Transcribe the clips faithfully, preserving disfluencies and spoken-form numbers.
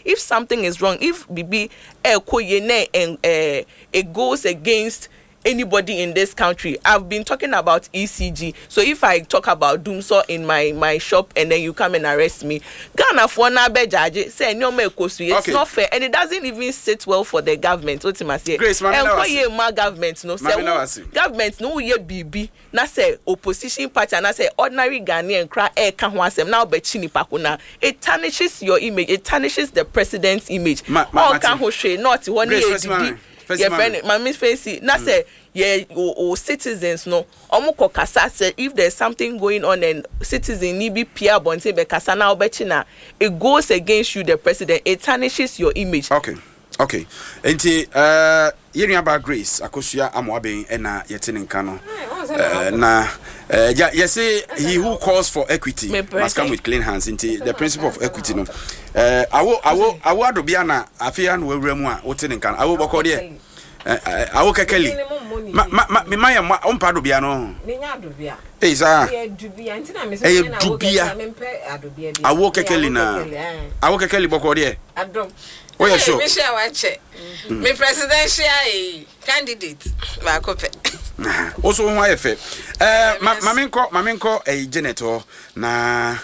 If something is wrong, if bibi ɛkɔ yie na ɛn it goes against anybody in this country. I've been talking about E C G. So if I talk about dumsor in my my shop and then you come and arrest me, Ghanafoɔ na abɛgyagye sɛ nneɛma ɛkɔ so, it's Okay. not fair and it doesn't even sit well for the government. O ti ma se Grace, Mame ɛnkɔ Nawasi. yie ma government no Mame sɛ Nawasi. wo government no woyɛ biribi na sɛ opposition party anaasɛ ordinary Ghanaian kora ɛɛka ho asɛm na wobɛkyi nipa ko na it tarnishes your image, it tarnishes the president's image. Ma- ma- Ɔnka Mate. ho hwee na ɔte hɔ ne Grace, yɛ first didi mame. First yɛfrɛ mame. no maame fesi na sɛ yɛ o o citizens no ɔmo kɔ kasa sɛ if there is something going on and citizen ni bi pia abɔnten bɛ kasa na ɔbɛkyi na it goes against you, the president, it tarnishes your image. okay okay nti uh, yɛn nuabaa Grace Akosua Amoaben ɛna yɛte ne nka no. uh, na uh, ya yɛse he who calls for equity Me must come present. with clean hands. Nti the principle of equity no, uh, awo awo awo adobia na afei ano wawura mu a wote ne nka no. Awo bɔkɔ deɛ, eh, eh, awo kɛkɛli ma ma ma ma yɛ ma ɔmpa adobia no. Menya adobia. Ei, saa. Ɛyɛ dubia nti na mesɛ Ɛyɛ menya na awo dubia. kɛkɛ, mempɛ adobia bi. Awo Ɛyɛ kɛkɛli na awo kɛkɛli, ɛn. Awo kɛkɛli bɔkɔ deɛ. Adom. Woyɛ Hey, sure? mehyɛ a wakyɛ me presidential eh, candidate baako pɛ. Wo so wo ho ayɛ fɛ. Eh, ma ma menkɔ ma menkɔ ɛyi Janet hɔ na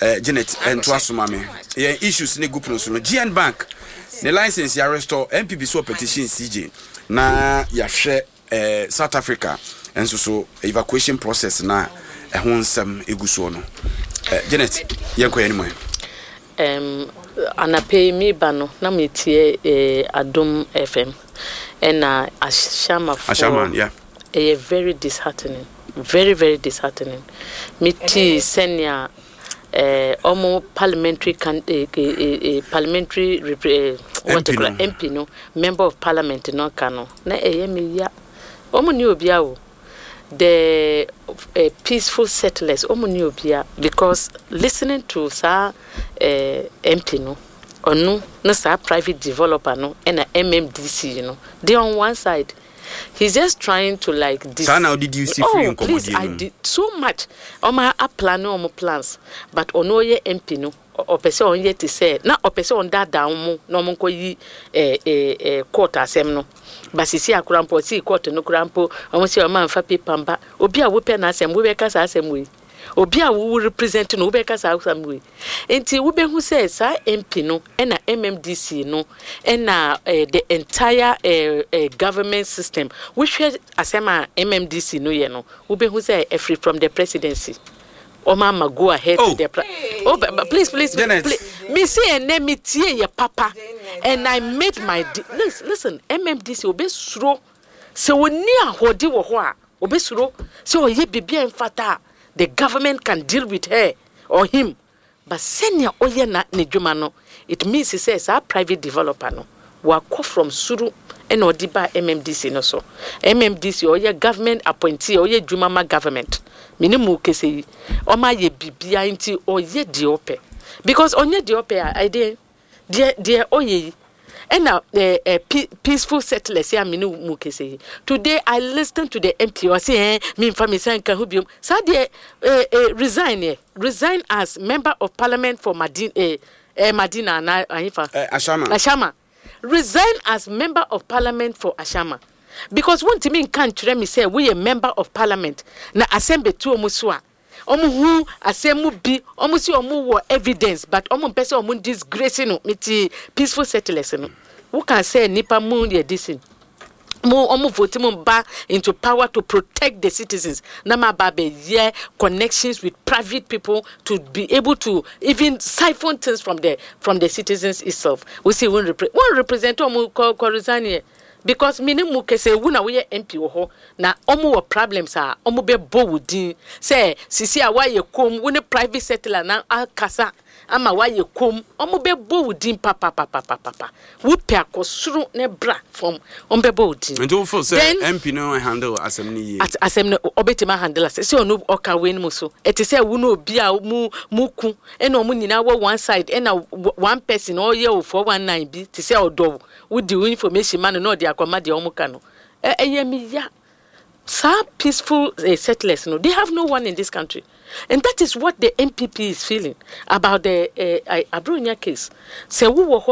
eh, Janet ɛntoa so ma me yɛn issues ne group no so no. G N Bank ne license yɛ restore, N P P so petition C J na yɛahwɛ eh, South Africa nso so evacuation process na ɛho nsɛm egu soɔ no. eh, Janet, yɛnkɔ yɛn anim ɛ. um, anapɛ yi meba no na metie eh, Adom F M ɛna Ahyɛmafoɔ. Ashaman, yeah. Ɛyɛ very disheartening, very very disheartening. Metii sɛnea eh, ɔmo parliamentary can, eh, eh, eh, eh, parliamentary repre, eh, what M P you call it, no. M P no, member of parliament no ka no na ɛyɛ me ya. Ɔmo ni obia o, the uh, peaceful settlers, ɔmo ni obia, because listening to saa uh, M P no, ɔno ne saa private developer no ɛna M M D C no, they on one side. He's just trying to like dis- Saa na wode di si firi Oh please, nkɔmmɔdie I no mu. did so much. Ɔmo aplan ɔmo plans, but ɔno ɔyɛ M P no, ɔ- ɔpɛ sɛ ɔnyɛ te sɛ na ɔpɛ sɛ ɔndaadaa ɔmo na ɔmo nkɔ yi ɛɛ ɛɛ ɛɛ court asɛm no ba sisi akora mpo ɔsi court no kora mpo ɔmo sɛ ɔmo anfa paper mba. Obi a wopɛ n'asɛm, wobɛka saa asɛm wei, obi a wo represent no, wobɛka saa asɛm wei. Nti wobɛhu sɛ saa M P no ɛna M M D C no ɛna eh, the entire eh, eh, government system. Wohwɛ asɛm a M M D C no yɛ no, wobɛhu sɛ ɛfiri from the presidency ɔmo ama go ahead Oh. to the pre oh, but, but please, please, Janet. please, me say ɛnɛ me tie yɛ papa and I made my de listen, listen, M M D C obesuro sɛ oni ahoɔden wɔ hɔ a obesuro sɛ ɔyɛ biribi a mfata a the government can deal with her or him, but sɛnea ɔyɛ na ne dwuma no, it means sɛ saa private developer no wakɔ from soro ɛna ɔde ba M M D C no so. M M D C ɔyɛ government appointee, ɔyɛ dwuma ma government. Mene mu kese yi ɔma ayɛ biribiara nti ɔyɛ deɛ ɔpɛ, because ɔnyɛ deɛ ɔpɛ a ɛdeɛ deɛ deɛ ɔyɛ yi ɛna ɛɛ ɛ peaceful settlers yɛ a mene mu kese yi. Today I listen to the M P, ɔsi ɛn mi nfa mi nsa nka ho biom. Saa deɛ ɛɛ ɛ resign yɛ resign as member of parliament for Madina, ɛɛ ɛ Madina ana ayifa. Eh, Ashama. Ashama. Resign as member of parliament for Ashama, because wontumi nka nkyerɛ mi sɛ woyɛ member of parliament na asɛm bɛtu ɔmo so a ɔmo hu asɛm mu bi, ɔmo si ɔmo wɔ evidence, but ɔmo mpɛ sɛ ɔmo disgrace no. Mi ti peaceful settlers no, woka sɛ nipa mu yɛ disin mo ɔmo vote mo ba into power to protect the citizens na ma ba bɛ yɛ connections with private people to be able to even siphon things from the from the citizens itself. We see wɔn repre wɔn represent ɔmo kɔ kɔ resign yɛ, because mi ni mu kɛsɛ ewu na woyɛ M P wɔ hɔ na ɔmo wɔ problems a ɔmo bɛ bɔ wo din sɛ sisi a wayɛ kom wo ne private settler na akasa ama wayɛ kom, ɔmo bɛ bɔ wo din papapapapapa. Wopɛ akɔ soro ne bra fam, ɔmo bɛ bɔ wo din. Nti wofo sɛ Then- M P no handle asɛm no yie? At asɛm no ɔbɛtumi ahandle asɛ sɛ ɔno ɔka wei no mu so ɛte sɛ wo ne obi a mu mu ku ɛna ɔmo nyinaa wɔ one side ɛna w- one person ɔyɛ o four one nine bi te sɛ ɔdɔ wo, wodi wo information ma no na ɔde akɔma deɛ ɔmo ka no. ɛ ɛyɛ mi ya. Saa peaceful uh, settlers no, they have no one in this country, and that is what the N P P is feeling about the uh, uh, Abronya case sɛ wowɔ hɔ.